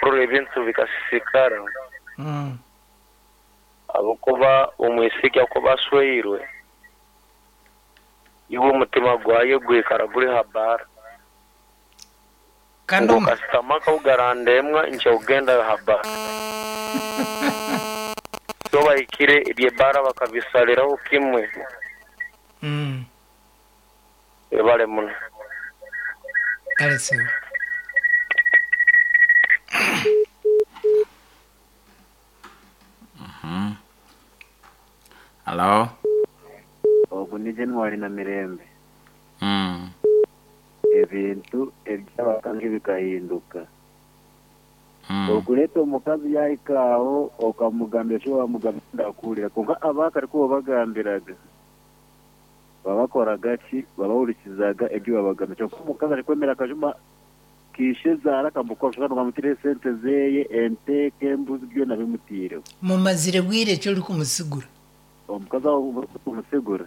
April ebintu bikasisikara ahabw'okuba omwisiki akuba asweirwe, iwe omutima gwaye gwikara guri ha baara. Kandi Ngu kasita amaka ku garandemwa nkya kugenda ha baara. So bahikire eby'ebaara bakabisaliraho kimwe. Webale muno. Kale sebo. Halo. Ogu ni January Namirembe. Ebintu eby'abakazi bikahinduka. Okureeta omukazi yaahika aho okamugambira eki waamugambira ndakuhurira kwonka abaakare ku waabagambiraga Babakoraga ki? Babahurikizaga ebi babagambira. Kyonka omukazi arikwemera akajuma ka ishezaara akamukora oshusha ngu bamutiireho esente zeye, ente, embuzi byona bimutiireho. Mumazire bwire ki orikumusigura? Omukazi aho orikumusigura,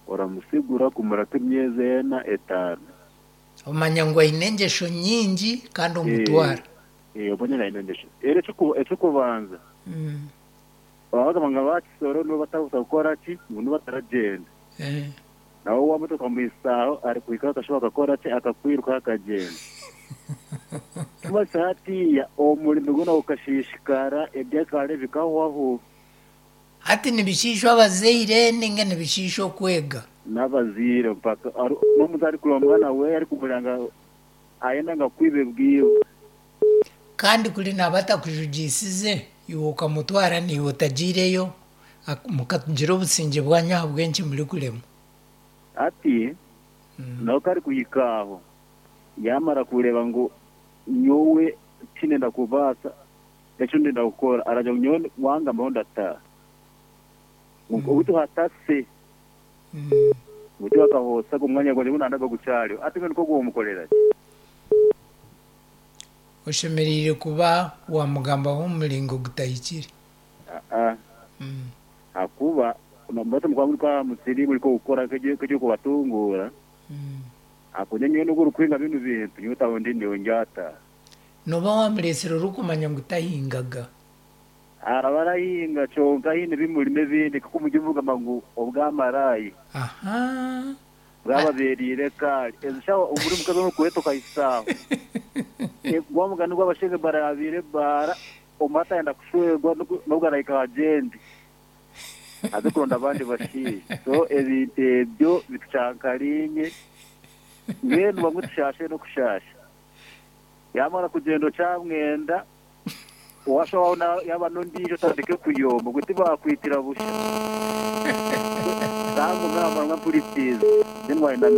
oramusigura kumara nk'emyezi ena, etaano. Omanya ngu aine engyesho nyingi kandi omutwara. Ee, omanya ngu aine engyesho. Reero eky'okubanza, Baba bagamba ngu aba Kisoro nibo batakubaasa kukora ki? Ngu nibo bataragyenda. Nawe wamuta okamuhitsya aho arikuhikaho akashuba akakora ki? Akakwirukaho akagyenda. Kumanyisa hatiiya omurimo gwona gukashiishikara, ebyakare bikahwaho. Hati nibishiishwa abazaire ninga nibishiisha okwega? N'abazaire mpaka n'omuntu arikureeba omwana we arikumureba ngu ayenda ngu akwibe bwibo. Kandi kuri naaba atakujugiisize, iwe okamutwara naiwe otagiireyo, mukagira obusingye bwanyu ahabw'enki murikuremwa? Hati nawe ku arikuhika aho, yaamara kureeba ngu nyowe tindenda kubaasa eki ndenda kukora, aragira ngu nyowe wangambaho ndataaha. Ngu obu hatase, ngu tihakahoosa omwanya gwangye ngu nandaga gukyariho. Hati mbwenu nk'ogwo womukorera ki? Oshemereire kuba waamugambaho omu muringo gutahikire. Aa, ahakuba nomanya mukuba muri aha musiri muri kukora nk'eky'okubatunguura, ahakuba nyowe n'obu orikuhinga binu bintu nyowe taho ndi nyowe ndyataaha. Nooba waamureetsire orikumanya ngu tahingaga. Araba arahinga kyonka haine ebimurimo ebindi nk'oku muri kugamba ngu obwamaraaya. Ahaa. Bwababeereire ekaari. Ezo shaaha omuri mukazi orikureeta okahitsya aho. Gwa mugani gw'abashaija ebara yaabaire ebaara, omwe atayenda kushwerwa n'obwo arahika agyende aze kuronda abandi bashaija. So ebintu ebyo bitucankariine mbwenu bamwe tushaashe n'okushaasha. Yaamara kugyenda okyamwenda. Owashobaho yaaba n'ondiijo otandike kuyomba ngu tibaakwitira busha. Nangwa naamara ngu mpurikiize then waayenda.